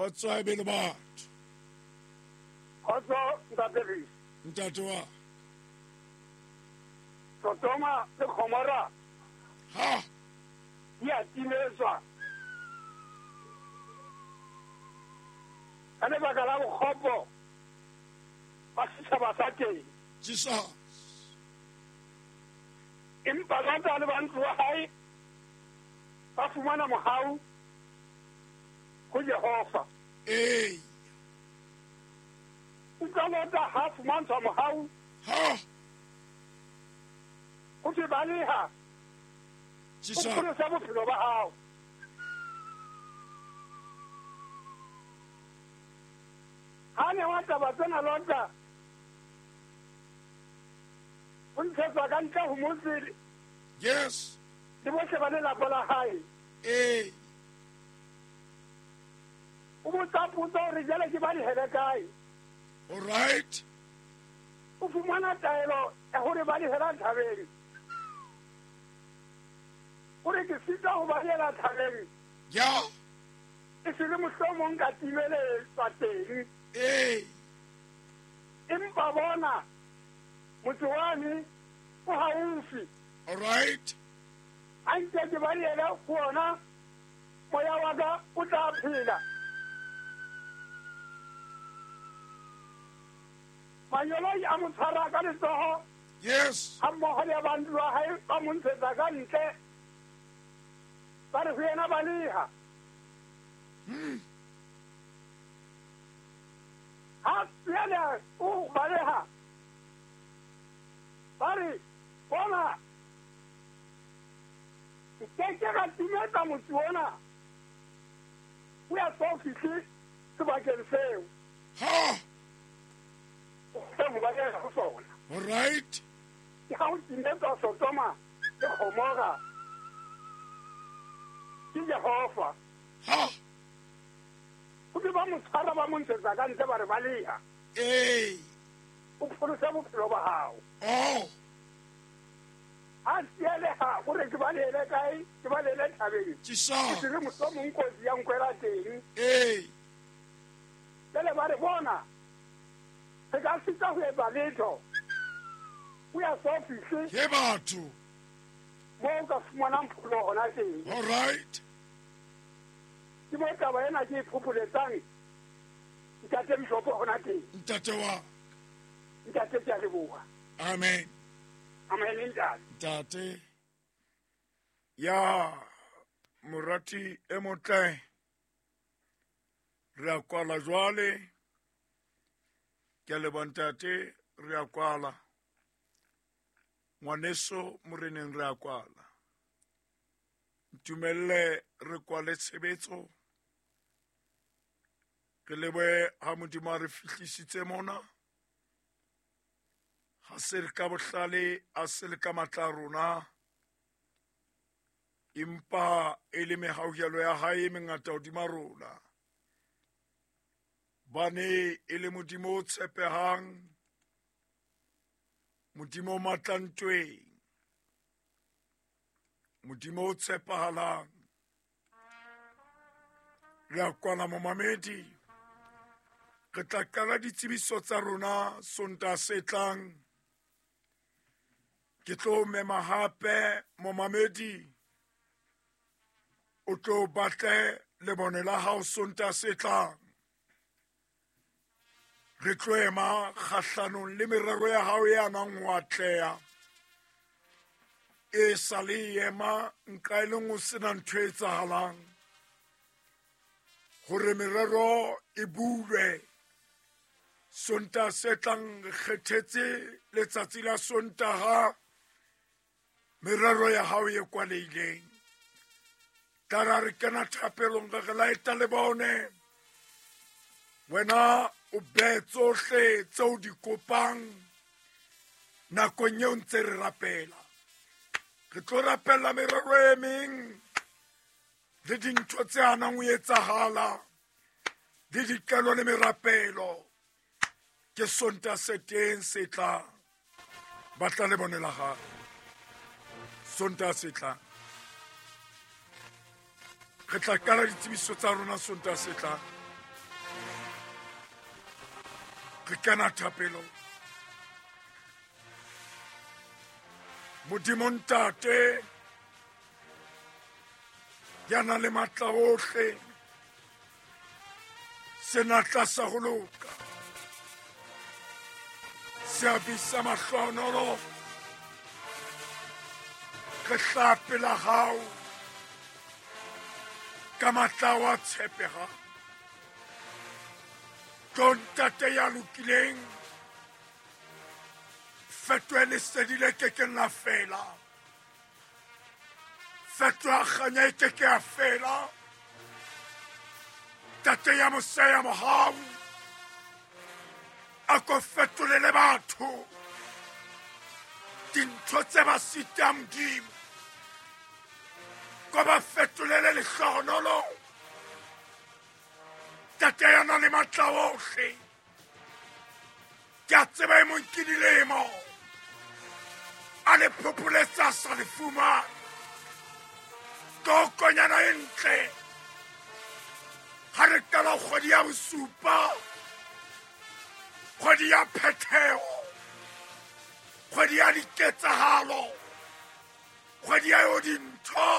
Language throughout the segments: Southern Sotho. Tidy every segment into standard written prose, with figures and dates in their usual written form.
Kgotso a be le batho. Kgotso ntate Luis. Ntate wa. Sodoma le Gomora. Ha. Di a timetswa. Ka lebaka la bokgopo ba setšhaba sa teng. Jesus. Empa Lota le ba ntlo ya hae ba fumana mohau ho Jehova. Ee. Utlwa Lota ha fumantshwa mohau. Ha. Ho thwe baleha. Jesus. O pholose bophelo ba hao. Ha newa taba tsena Lota o ntshetswa ka ntle ho motse. Yes. Le bohle ba lelapa la hae. Ee. O botsa potso hore jwale ke ba lehele kae. All right. O fumana taelo ya hore ba lehela thabeng. O re ke sitwa ho ba lehela thabeng. Ya. E se le mohlomong ka timeletswa teng. Ee. Empa bona motse wane o haufi. All right. A nke ke ba lehele ho ona, moya wa ka o tla phela. Mangeloi a mo tshwara ka letsoho. Yes. Ha mmoho le ba ntlo ya hae ba mo ntshetsa ka ntle. Ba re ho yena baleha. Ha yena o baleha. Ba re bona ke ke ka timetsa motse ona. O ya so fihle sebakeng seo. Ha. O ba ya ho sona. All right. Ke ha o timetsa Sodoma le Gomora. Ke Jehova. Ha. O be ba mo tshwara ba mo ntshetsa ka ntle ba re baleha. Ee. O pholose bophelo ba hao. Oh. A tsieleha o re ke balehele kae? Ke balehele thabeng. Jesus. Ke se re mohlomong kotsi ya nkwela teng. Ee. Jwale ba re bona re ka sita ho etsa letho. O ya so fihle. Ke batho. Mo o ka fumanang pholo hona teng. All right. Ke mo taba ena ke e phopholetsang ntate Bishopo hona teng. Ntate wa. Ntate ke a leboha. Amen. Amen ntate. Ntate. Ya morati e motle. Re a kwala jwale. Ke a leboha ntate, re a kwala. Ngwaneso moreneng re a kwala. Ntumelle re kwale tshebetso. Re lebohe ha Modimo a re fihlisitse mona. Ha se le ka bohlale, a se le ka matla a rona. Empa e le mehauhelo ya hae e mengata hodima rona. Bane e le Modimo o tshepehang, Modimo o matla ntweng, Modimo o tshepahalang. Re a kwana momamedi. Re tla qala ditsebiso tsa rona Sontaha se tlang. Ke tlo mema hape momamedi. O tlo batle lebone la hao Sontaha se tlang. Re tlo ema kgahlanong le merero ya hao e anang ho atleha. E sa le ema nka e leng ho sena ntho e etsahalang. Hore merero e bulwe. Sontaha se tlang re kgethetse letsatsi la Sontaha. Merero ya hao e kwalehileng. Tla ra re kena thapelong re re laeta le bone. Wena o behe tsohle tseo di kopang nakong eo ntse re rapela. Re tlo rapella merero e meng le dintho tse hanang ho etsahala le diqelo le merapelo. Ke Sontaha se teng se tlang. Batla le bone la hao. Sontaha se tlang. Re tla qala ditsebiso tsa rona Sontaha se tlang. Re kena thapelong. Modimo Ntate ya nang le matla ohle, senatla sa ho loka, seabi sa mahlohonolo, re hlaha pela hao ka matla wa tshepegang. Tlo Ntate ya lokileng, fetohe lesedi le kekeng la fela, fetoha kganya e keke ya fela. Ntate ya mosa ya mohau, a ko fetolele batho dintho tse ba sitang Modimo, ko ba fetolele lehlohonolo. Ntate ya nang le matla ohle, ke a tseba e mong ke dilemo a le phopholetsa sa le fumane. Tokonyana e ntle ha re qala kgwedi ya bosupa, kgwedi ya phetheho, kgwedi ya diketsahalo, kgwedi ya yo dintho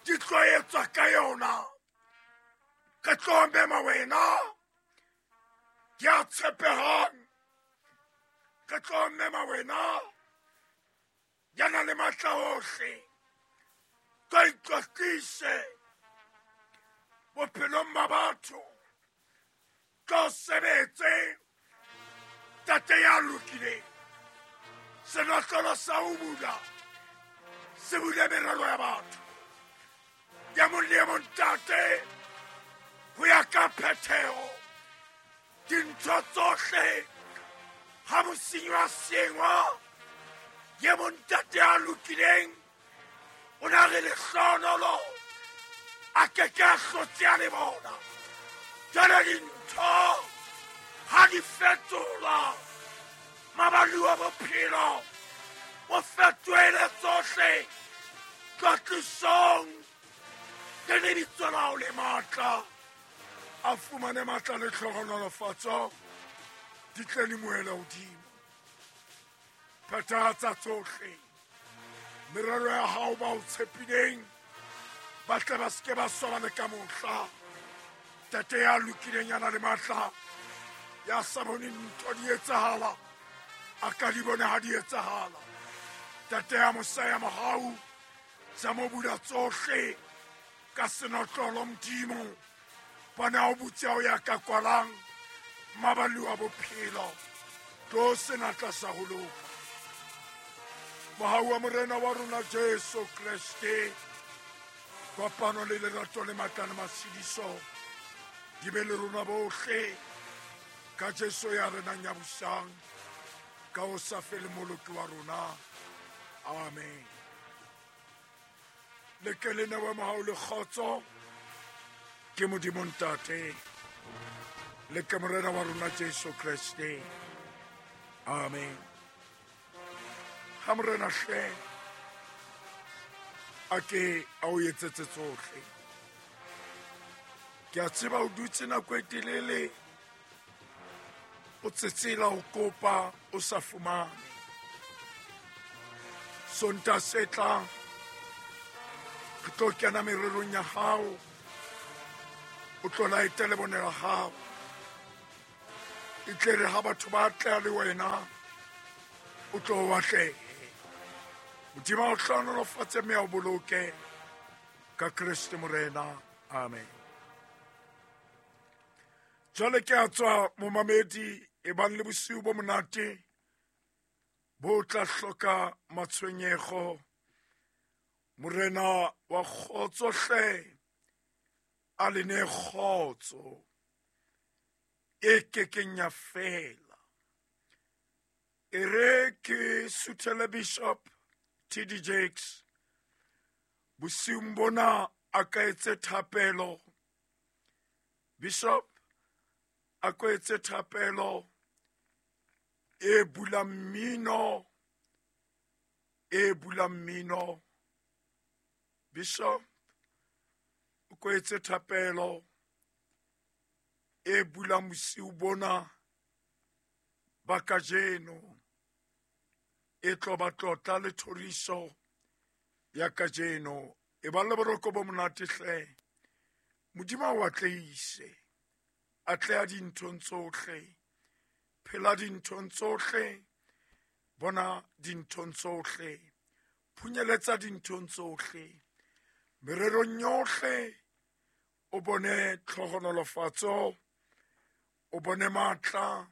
di tlo etswa ka yona. Re tlo mema wena ya tshepehang, re tlo mema wena ya nang le matla ohle. Tlo itlotlise bophelong ba batho, tlo sebetse Ntate ya lokileng. Senotlolo sa ho bula se bule merero ya batho ya mong le mong Ntate, ho ya ka phetheho dintho tsohle. Ha mosenyi wa sengwa ye mong Ntate ya lokileng o na re lehlohonolo a keke a hlotse a le bona. Jwale dintho ha di fetolwa, mabapi wa bophelo o fetohele tsohle tlotlisong le lebitso la hao le matla. A fumane matla le tlhohonolofatso di tle di moele hodimo. Phethahatsa tsohle merero ya hao ba o tshepileng, ba tle ba seke ba swaba le ka mohla. Ntate ya lokileng ya nang le matla, ya sa boneng ntho di etsahala, a ka di bone ha di etsahala. Ntate ya mosa ya mohau, tsa mo bula tsohle ka senotlolo Modimo, bona o butse o ya ka kwalang maballi wa bophelo, tlo senatla sa ho loka. Mohau wa Morena wa rona Jesu Kreste, kopano le lerato le matla le matshediso di be le rona bohle ka Jesu ya renang ya busang ka ho sa fele moloki wa rona. Amen. Le ke le newe mohau le kgotso ke Modimo Ntate le ke Morena wa rona Jesu Kreste. Amen. Ha Morena hle a ke a o etsetse tsohle. Ke a tseba o dutse nako e telele o tsetsela o kopa o sa fumane. Sonta se tlang re tlo kena mererong ya hao, o tlo laete lebone la hao, e tle re ha batho ba atleha le wena o tlo o atlehe. Modimo a o hlohonolofatse mme a o boloke ka Kreste Morena. Amen. Jwale ke a tswa momamedi, e bang le bosiu bo monate bo tla hloka matshwenyego. Morena wa kgotso hle a le ne kgotso e kekeng ya fela. E re ke suthele Bishop T.D. Jakes bosiung bona a ka etse thapelo. Bishop a ko etse thapelo e bulang mmino, e bulang mmino. Bishop o ko etse thapelo e bulang bosiu bona. ba kajeno e tlo ba tlotla le thoriso ya kajeno. E ba le boroko bo monate hle. Modimo a o atleise, atleha dinthong tsohle, phela dinthong tsohle, bona dinthong tsohle, phunyeletsa dinthong tsohle, mererong yohle o bone tlhohonolofatso, o bone matla,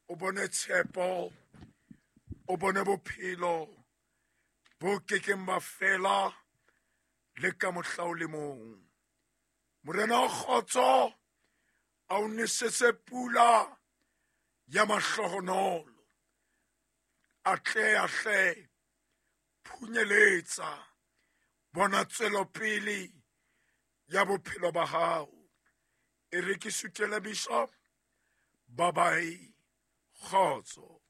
o bone tshepo, o bone bophelo bo kekeng ba fela le ka mohla o le mong. Morena wa kgotso a o nesetse pula ya mahlohonolo, atleha hle, phunyeletsa, bona tswelopele ya bophelo ba hao. E re ke sutele Bishop. Bye bye. Kgotso.